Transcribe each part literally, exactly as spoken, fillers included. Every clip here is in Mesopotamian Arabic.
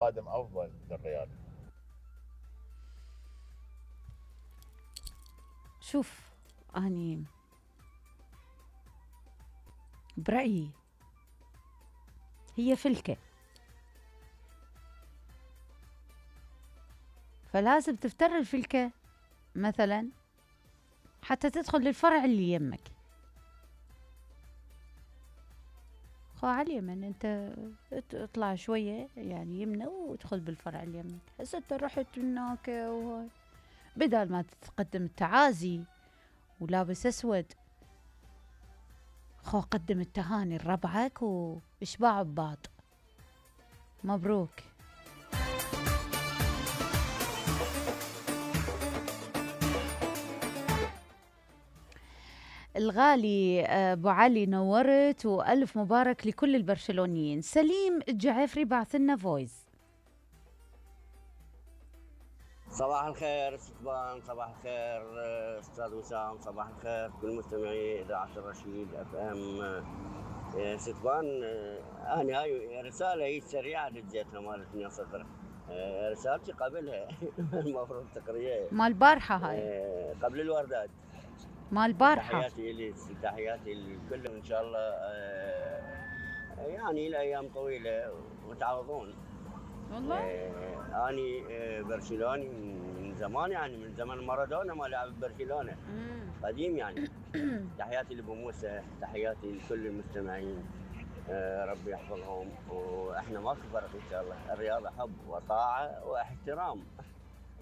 قادم افضل للرياض. شوف اني برأيي هي فلكة، فلازم تفتر الفلكة مثلا حتى تدخل للفرع اللي يمك. خو على اليمن انت اطلع شوية يعني يمنى وادخل بالفرع اللي يمك. هسه انت رحت هناك وهاي بدل ما تقدم التعازي ولابس اسود، خو قدم التهاني لربعك واشبعوا ببعض. مبروك. الغالي ابو علي نورت والف مبارك لكل البرشلونيين. سليم الجعفري بعث لنا فويس. صباح الخير ستبان، صباح الخير استاذ وسام، صباح الخير كل مستمعي اذاعه الرشيد اف ام. ستبان انا هاي رساله هي سريعه دزيتها مالتني صدر، رسالتي قبلها المفروض تقريها مال البارحه هاي قبل الوردات مال البارحه. تحياتي لي تحياتي للكل ان شاء الله، يعني الايام طويله وتعوضون. والله آه اني آه برشلوني من زمان، يعني من زمان مارادونا ما لعب برشلونه قديم يعني. تحياتي لابو موسى، تحياتي لكل المستمعين، آه ربي يحفظهم. واحنا ماكو فرق ان شاء الله، الرياضه حب وطاعه واحترام.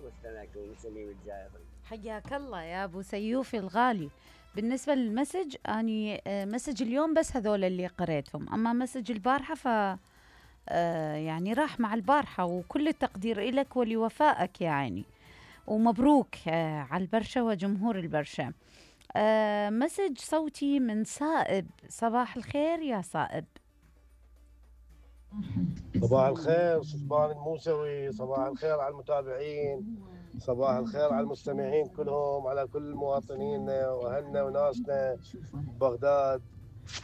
مستمعكم سليم الجعفري. حياك الله يا ابو سيوفي الغالي. بالنسبه للمسج اني آه مسج اليوم بس هذول اللي قريتهم، اما مسج البارحه ف آه يعني راح مع البارحة، وكل التقدير إلك ولوفائك يعني، ومبروك آه على البرشا وجمهور البرشا. آه مسج صوتي من صائب. صباح الخير يا صائب. صباح الخير سلطان الموسوي، صباح الخير على المتابعين، صباح الخير على المستمعين كلهم، على كل مواطنينا واهلنا وناسنا بغداد.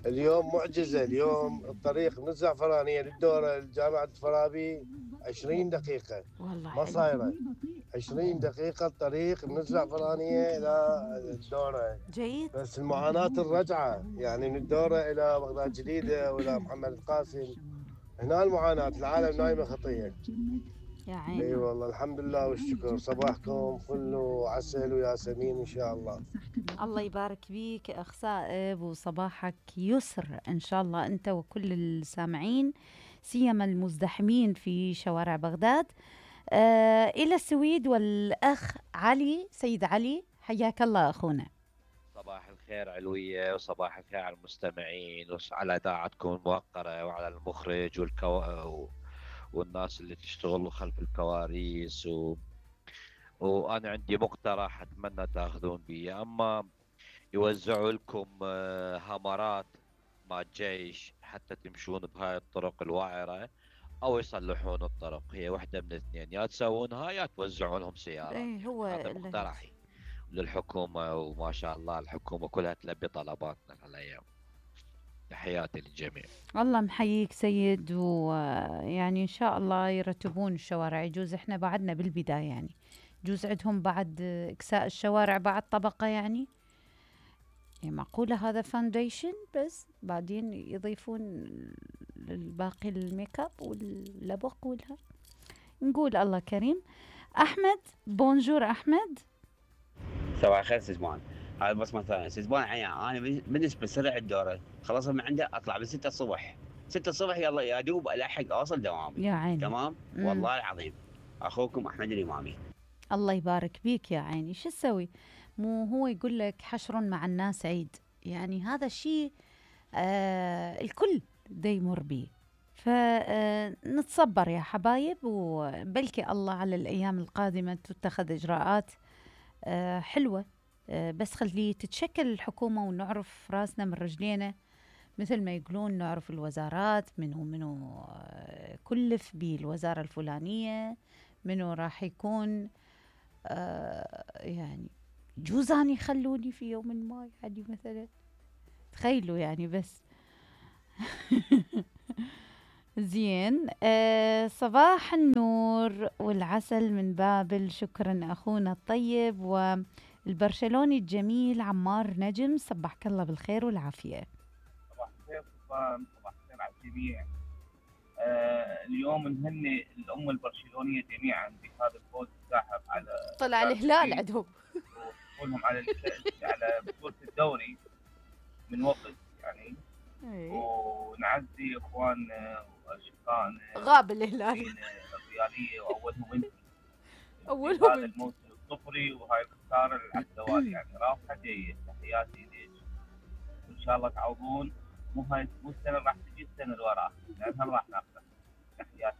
اليوم معجزة، اليوم الطريق من الزعفرانية للدورة لجامعة فرابي عشرين دقيقة، والله ما صايرة عشرين دقيقة الطريق من الزعفرانية إلى الدورة. جيد. بس المعاناة الرجعة يعني من الدورة إلى بغداد جديدة وإلى محمد القاسم، هنا المعاناة، العالم نايمة خطية. يا عيني. اي والله الحمد لله والشكر. صباحكم فل وعسل وياسمين ان شاء الله. الله يبارك بيك اخ صائب، وصباحك يسر ان شاء الله انت وكل السامعين، سيما المزدحمين في شوارع بغداد. آه الى السويد والاخ علي، سيد علي حياك الله اخونا. صباح الخير علوية، وصباح الخير على المستمعين وعلى إذاعتكم الموقرة وعلى المخرج والكو... والناس اللي تشتغل خلف الكواليس و... وأنا عندي مقترح أتمنى تأخذون بيه، أما يوزعوا لكم هامرات مع الجيش حتى تمشون بهاي الطرق الوعرة، أو يصلحون الطرق. هي واحدة من الاثنين، يا تسوونها يا توزعون لهم سيارات. ايه هو هذا مقترحي للحكومة، وما شاء الله الحكومة كلها تلبي طلباتنا هالأيام. تحياتي للجميع. الله محييك سيد، ويعني إن شاء الله يرتبون الشوارع. يجوز إحنا بعدنا بالبداية يعني، يجوز عندهم بعد إكساء الشوارع بعد طبقة يعني. يعني معقولة هذا فاونديشن بس بعدين يضيفون الباقي الميك اب واللبق والها. نقول الله كريم. أحمد بونجور أحمد. صباح الخير سيزمان. هذا بس مثلا سيزمان عيان، انا بالنسبه لسرع الدوره خلاص من عنده اطلع من ستة الصبح، ستة الصبح يلا يا دوب الحق اوصل دوامي. يا عيني. تمام. مم. والله العظيم اخوكم احمد الامامي. الله يبارك بيك يا عيني. شو تسوي؟ مو هو يقول لك حشر مع الناس عيد، يعني هذا الشيء آه الكل دا يمر به، فنتصبر يا حبايب، وبلكي الله على الأيام القادمة تتخذ إجراءات آه حلوة. آه بس خلي تتشكل الحكومة ونعرف راسنا من رجلينا، مثل ما يقولون نعرف الوزارات منو منو آه كلف بالوزارة الفلانية، منو راح يكون آه يعني جوزان يخلوني في يوم ما يعني مثلا، تخيلوا يعني بس زين. آه صباح النور والعسل من بابل، شكرا أخونا الطيب والبرشلوني الجميل عمار نجم، صبحك الله بالخير والعافية. صباح الخير سلطان، صباح الخير على الجميع. آه اليوم نهني الأمة البرشلونية جميعا بهذا الفوز الساحق على طلع الهلال عندهم وحصولهم على على بطولة الدوري من وقت يعني. ونعزي اخواننا واشقائنا غاب الهلال الرياليه واولهم انت اولهم هذا الموسم الصفري وهاي الخساره على الدوالي يعني رافعه جيد. تحياتي ليش وان شاء الله تعوضون. مو هاي مو السنه راح تجي السنه اللي وراها لانها راح ناخذها. تحياتي